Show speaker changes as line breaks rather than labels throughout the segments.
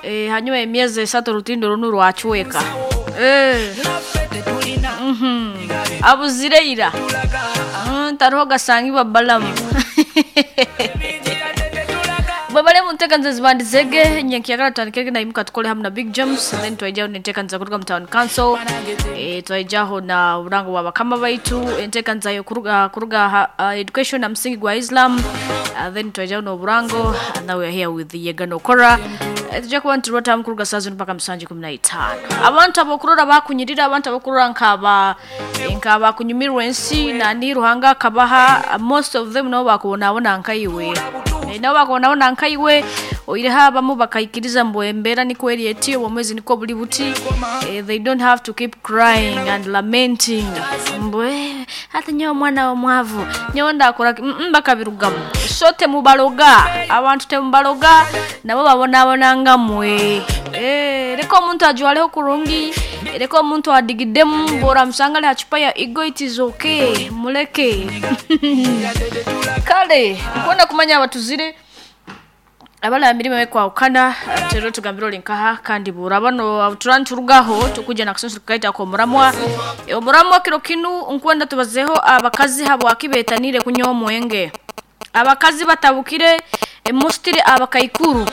Eh, hanyuma y'emyezi esatu orutindo runu rwacweka. Eh. Abuzire ira. Tariho gasangibwa balamu. Babale muntekanza zibandizege nyenkiyagala tutandikege na imuka tukole hamu na Big James, then twaijaho nentekanza kuruga mu town council, twaijaho na burango bwa bakama baitu entekanza yo kuruga kuruga ha, education na msingi gwa Islam, then twaijaho no burango, and now we are here with Yegano Kora. Tujja kuba niturotamu kuruga saa zino mpaka musanju 15. Abantu abokurora bakunyirira, abantu abokurora nkaba nkaba kunyumirwa ensi nani Ruhanga akabaha, most of them nabo bakubonabona nkaiwe. Nabo bakubonabona nkaiwe oireho abamu bakaikiriza mbu embeera nikwo eri eti obwomwezi nikwo buri buti. They don't have to keep crying and lamenting mbu hati nyowe omwana w'omwavu nyowe ndakora ki?" Bakabirugamu. So temubaloga, abantu temubaloga, nabo babonabona nga mwe. Leka omuntu ajwareho kurungi, leka omuntu adigidemu, bw'oramusanga ari ha chupa ya Ego, it is okay, muleke. Kale nkwenda kumanya abatuzire abala mirimo ekwahukana, rero tugambire ori nkaha kandi buraba no turanturugaho tukuja na kusunsu tukaita ko muramwa. Omuramwa kiro kinu nkwenda tubazeho abakazi habwaki betanire kunywa omwenge. Abakazi batabukire emustire abakaikuru.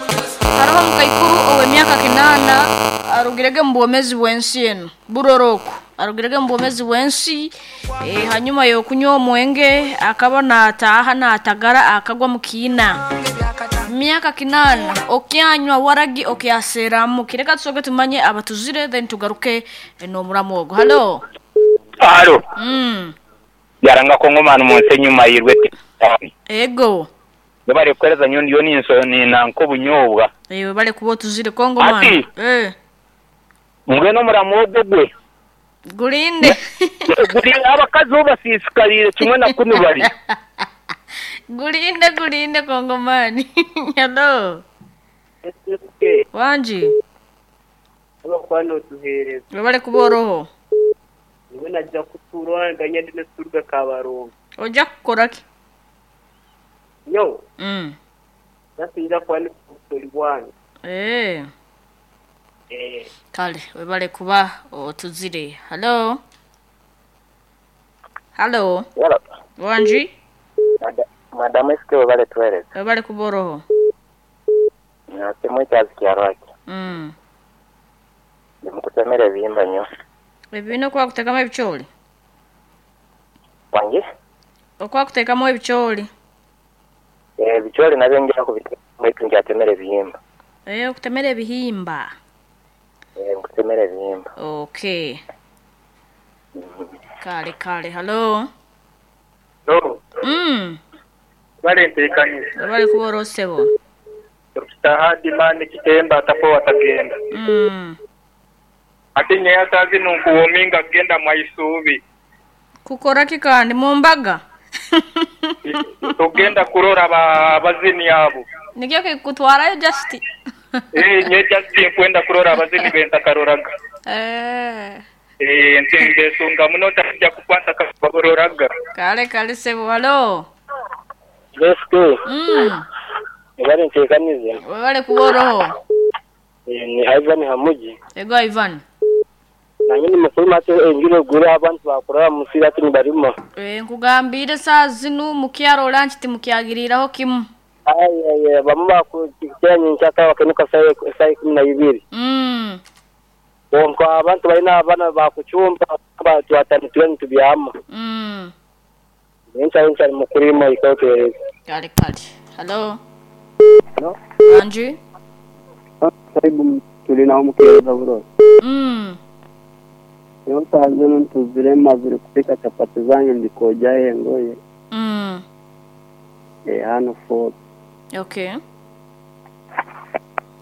Hariho omukaikuru ow'emyaka 8 arugirege mu bwomezi bw'ensi eno buroroko arugirege mu bwomezi bw'ensi, hanyuma y'okunywa omwenge akaba nataaha natagara akagwa mu kiina. Myaka 8 okyanywa waragi okyaseramu. Kireka tusoke tumanye abatuzire, then tugaruke n'omuramu ogwo. Halo.
Halo. Yaranga kongomani mu nsi enyuma yirwe.
Ego.
Bari kuhereza nyo ndiyo ninso ninanka obunyobwa.
Ewe bale kuba otuzire kongomani.
Ati. Mbwenu omuramu ogwo gwe.
Gulinde.
Guri abakazi bo basisikarire kimwe na kunu bari.
Gulinde gulinde kongomani. Hello. Wanji.
Abakwano otuhereza.
Bale kuba oroho.
Niwe najja kutuura nganya ndi neturuga Kabarongo.
Ojja kukora ki?
Nyo. Nasinja kwani kutori bwange.
Kale webale kuba otuzire. Hello. Hello.
Yala.
Wanji.
Madamu SK webale tuhereza.
Webale kuba oroho.
Nasemwe kyazi kyarwaki. Ndimukutemera ebihimba nyo.
Ebibina okwakuteekamu ebicooli?
Wangi?
Okwakuteekamu ebicooli.
Ebicooli nabyo ngira kubiteekamu baitu nkyatemera ebihimba.
Okutemera ebihimba.
Nkutemera ebihimba.
Okay. Kale kale, hello.
No. Bale ntekanyiza.
Bale kuba orosebo.
Dr. Hadi mani kitemba atapo atagenda. Ate nyeya sazi nunkuwominga kugenda mwaisubi.
Kukora ki kandi mu mbaga?
Tugenda kurora abazini abo.
Nikyo kikutwarayo just.
Nye just nkwenda kurora abazini bentakaroraga. Ntembesunga muno tajja kukwata kabaroraga.
Kale kale sebo, hello.
SK. Bale ntekanyiza.
Webale kuba oroho.
Ni Ivan Hamuji.
Ego Ivan.
Nange ni mukuru mate enjuro gure abantu bakurara musira ati nibarimo.
Nkugambire saa zinu mukyaro lunch timukyagiriraho kimu.
Aye bamu bakukiranye nchaka bakenuka saa 12. Bonko abantu balina abana bakuchumba abantu batanu tubyama. Ncha ncha mukurimo ikote.
Kale kale. Hello.
Hello.
Anji.
Karibu tulina omukeereza buroro. Leo saa zino ntuzire mazire kupika chapati zange ndikojaye engoye. Hano 4.
Okay.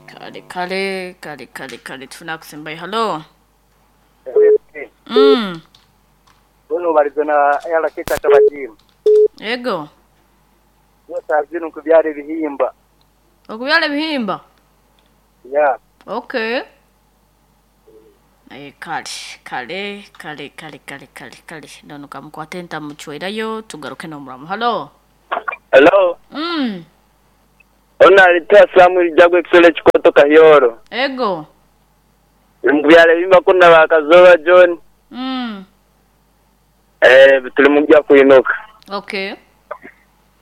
Kale kale kale kale kale tunakusembaye. Hello.
Bono barizona yala keka tabajimu.
Ego.
Leo saa zino kubyara ebihimba.
Okubyara ebihimba?
Yeah.
Okay. Kale kale kale kale kale kale kale nono kamukwate ntamuchwerayo tugaruke n'omuramu. Hello.
Hello. Ona alitoa Samuel Jagwe Kisole Chikota. Fort Kahyoro.
Ego.
Turi mu byaro ebi mbakunda ba Kazooba John.
Mm.
Eh, turi mu bya kwinuka.
Okay.